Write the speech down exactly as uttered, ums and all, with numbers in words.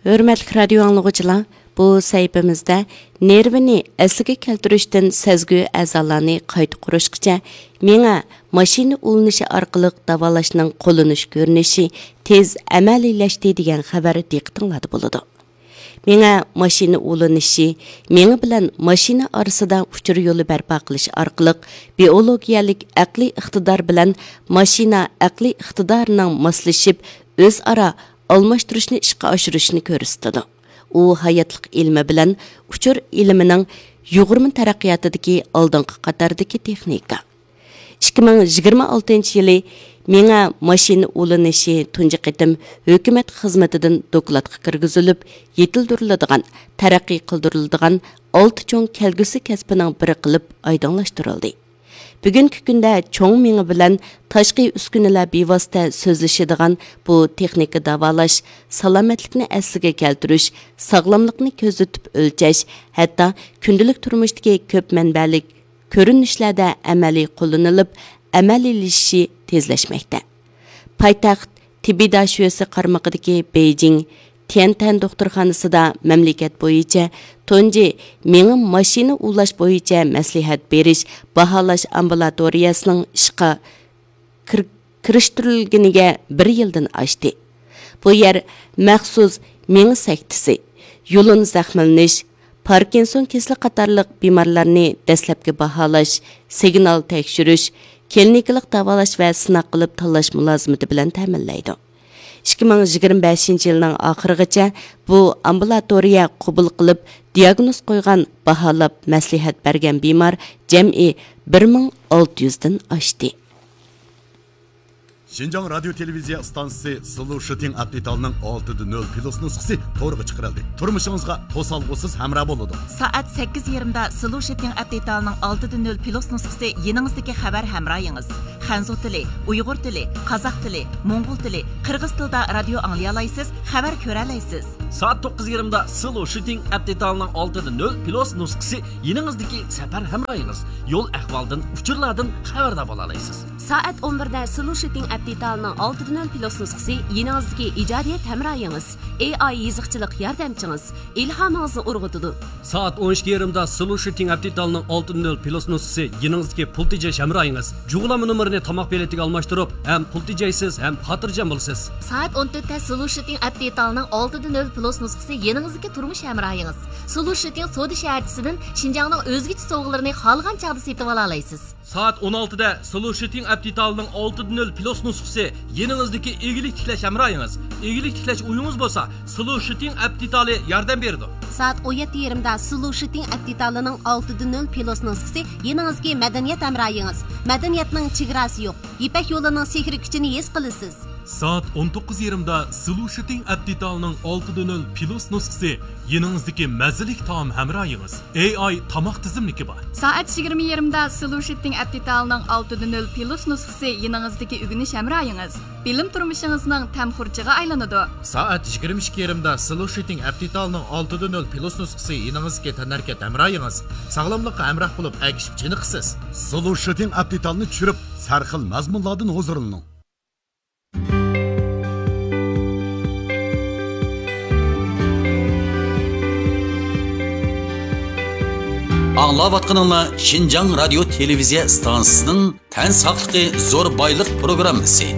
ھۆرمەتلىك رادىيو ئاڭلىغۇچىلار، بۇ سەھىپىمىزدە نېرۋىنى ئەسلىگە كەلتۈرۈشتىن سەزگۈ ئەزالارنى قايتا قۇرۇشقىچە مېڭە ماشىنا ئۇلىنىشى ئارقىلىق داۋالاشنىڭ قوللىنىش كۆرۈنۈشى تېز ئەمەلىيلەشتى دېگەن خەۋەر دىققىتىڭلاردا بولىدۇ. مېڭە ماشىنا ئۇلىنىشى، مېڭە بىلەن ماشىنا ئارىسىدا ئۇچۇر يولى بەرپا قىلىش ئارقىلىق بىئولوگىيەلىك ئەقلىي ئىقتىدار بىلەن ماشىنا ئەقلىي ئىقتىدارىنىڭ ماسلىشىپ، ئۆزئارا ئالماشتۇرۇشنى ئىشقا ئاشۇرۇشنى كۆرسىتىدۇ. ئۇ ھاياتلىق ئىلمى بىلەن ئۇچۇر ئىلمىنىڭ يۇغۇرما تەرەققىياتىدىكى ئالدىنقى قاتاردىكى تېخنىكا. ئىككى مىڭ يىگىرمە ئالتىنچى يىلى مېڭە ماشىنا ئۇلىنىشى تۇنجى قېتىم ھۆكۈمەت خىزمىتىدىن دوكلاتقا كىرگۈزۈلۈپ، يېتىلدۈرۈلىدىغان، تەرەققىي قىلدۇرۇلىدىغان ئالتە چوڭ كەلگۈسى كەسپىنىڭ بىرى قىلىپ ئايدىڭلاشتۇرۇلدى. بۈگۈنكى كۈندە چوڭ مېڭە بىلەن تاشقى ئۈسكۈنىلەر بىۋاسىتە سۆزلىشىدىغان بۇ تېخنىكا داۋالاش، سالامەتلىكنى ئەسلىگە كەلتۈرۈش، ساغلاملىقنى كۆزىتىپ ئۆلچەش، ھەتتا كۈندىلىك تۇرمۇشتىكى كۆپ مەنبەلىك كۆرۈنۈشلەردە ئەمەلىي قوللىنىلىپ، ئەمەلىيلىشىشى تېزلەشمەكتە. پايتەخت تېببىي داشۆسى قارمىقىدىكى بېيجىڭ تيەنتەن دوختۇرخانىسىدا مەملىكەت بويىچە تۇنجى مېڭە ماشىنا ئۇلاش بويىچە مەسلىھەت بېرىش، باھالاش ئامبۇلاتورىيەسىنىڭ ئىشقا كىر-، كىرىشتۈرۈلگىنىگە بىر يىلدىن ئاشتى. بۇ يەر مەخسۇس مېڭە سەكتىسى، يۇلۇن زەخىملىنىش، پاركىنسون كېسىلى قاتارلىق بىمارلارنى دەسلەپكى باھالاش، سىگنال تەكشۈرۈش، كلىنىكىلىق داۋالاش ۋە سىناق قىلىپ تاللاش مۇلازىمىتى بىلەن تەمىنلەيدۇ. ئىككى مىڭ يىگىرمە بەشىنچى يىلنىڭ ئاخىرىغىچە بۇ ئامبۇلاتورىيە قوبۇل قىلىپ، دىياگنوز قويغان، باھالاپ، مەسلىھەت بەرگەن بىمار جەمئىي بىر مىڭ ئالتە يۈزدىن ئاشتى. شىنجاڭ رادىيو تېلېۋىزىيە ئىستانسىسى سلوشىتىڭ ئەپ دېتالىنىڭ ئالتىدە نۆل پلۇس نۇسخىسى تورغا چىقىرىلدى. تۇرمۇشىڭىزغا توسالغۇسىز ھەمراھ بولىدۇ. سائەت سەككىز يېرىمدا سلوشىتىڭ ئەپ دېتالىنىڭ ئالتىدە نۆل پلۇس نۇسخىسى يېنىڭىزدىكى خەۋەر ھەمراھىڭىز. خەنزۇ تىلى، ئۇيغۇر تىلى، قازاق تىلى، موڭغۇل تىلى، قىرغىز تىلىدا رادىيو ئاڭلىيالايسىز، خەۋەر كۆرەلەيسىز. سائەت توققۇز يېرىمدا سلوشىتىڭ ئەپ دېتالىنىڭ ئالتىدە نۆل پلۇس نۇسخىسى يېنىڭىزدىكى سەپەر ھەمراھىڭىز. يول ئەھۋالدىن، ئۇچۇرلاردىن خەۋەردار بولالايسىز. سائەت ئون بىردە سلوشىتىڭ ئەپ دېتالىنىڭ ئالتىدە نۆل پلۇس نۇسخىسى يېنىڭىزدىكى ئىجادىيەت ھەمراھىڭىز. ئېي ئاي يېزىقچىلىق ياردەمچىڭىز، ئىلھامىڭىزنى ئۇرغۇتىدۇ. سائەت ئون ئىككى يېرىمدا سلوشىتىڭ ئەپ دېتالىنىڭ ئالتىدە نۆل پلۇس نۇسخىسى يېنىڭىزدىكى پۇل تېجەش ھەمراھىڭىز. جۇغلانما نومۇرىنى تاماق بېلىتىگە ئالماشتۇرۇپ، ھەم پۇل تېجەيسىز، ھەم خاتىرجەم بولىسىز. سائەت ئون تۆتتە سلوشىتىڭ ئەپ دېتالىنىڭ ئالتىدە نۆل پلۇس نۇسخىسى يېنىڭىزدىكى تۇرمۇش ھەمراھىڭىز. سلوشىتىڭ سودا شەھەرچىسىدىن شىنجاڭنىڭ ئۆزگىچە سوۋغىلىرىنى خالىغان چاغدا سېتىۋالالايسىز. سائەت ئون ئالتىدە سلوشىتىڭ ئەپ دېتالىنىڭ ئالتىدە نۆل پلۇس نۇسخىسى يېنىڭىزدىكى ئىگىلىك تىكلەش ھەمراھىڭىز. ئىگىلىك تىكلەش ئويىڭىز بولسا، سلوشىتىڭ ئەپ دېتالى ياردەم بېرىدۇ. سائەت ئون يەتتە يېرىمدا سلوشىتىڭ ئەپ دېتالىنىڭ ئالتىدە نۆل پلۇس نۇسخىسى يېنىڭىزدىكى مەدەنىيەت ھەمراھىڭىز. مەدەنىيەتنىڭ چېگراسى يوق. يىپەك يولىنىڭ سېھرىي كۈچىنى ھېس قىلىسىز. سائەت ئون توققۇز يېرىمدا سلوشىتىڭ ئەپ دېتالىنىڭ ئالتىدە نۆل پلۇس نۇسخىسى يېنىڭىزدىكى مەززىلىك تائام ھەمراھىڭىز. ئېي ئاي تاماق تىزىملىكى بار. سائەت يىگىرمە يېرىمدا سلوشىتىڭ ئەپ دېتالىنىڭ ئالتىدە نۆل پلۇس نۇسخىسى يېنىڭىزدىكى ئۆگىنىش ھەمراھىڭىز. بىلىم تۇرمۇشىڭىزنىڭ تەم خۇرجىغا ئايلىنىدۇ. سائەت يىگىرمە ئىككى يېرىمدا سلوشىتىڭ ئەپ دېتالىنىڭ ئالتىدە نۆل پلۇس نۇسخىسى يېنىڭىزدىكى تەنھەرىكەت ھەمراھىڭىز. ساغلاملىققا ھەمراھ بولۇپ ئەگىشىپ چېنىقىسىز. سلوشىتىڭ ئەپ دېتالىنى چۈشۈرۈپ، سەرخىل مەزمۇنلاردىن ھۇزۇرلىنىڭ. ئاڭلاۋاتقىنىڭلار شىنجاڭ رادىيو تېلېۋىزىيە ئىستانسىسىنىڭ تەن ساقلىقى زور بايلىق پروگراممىسى.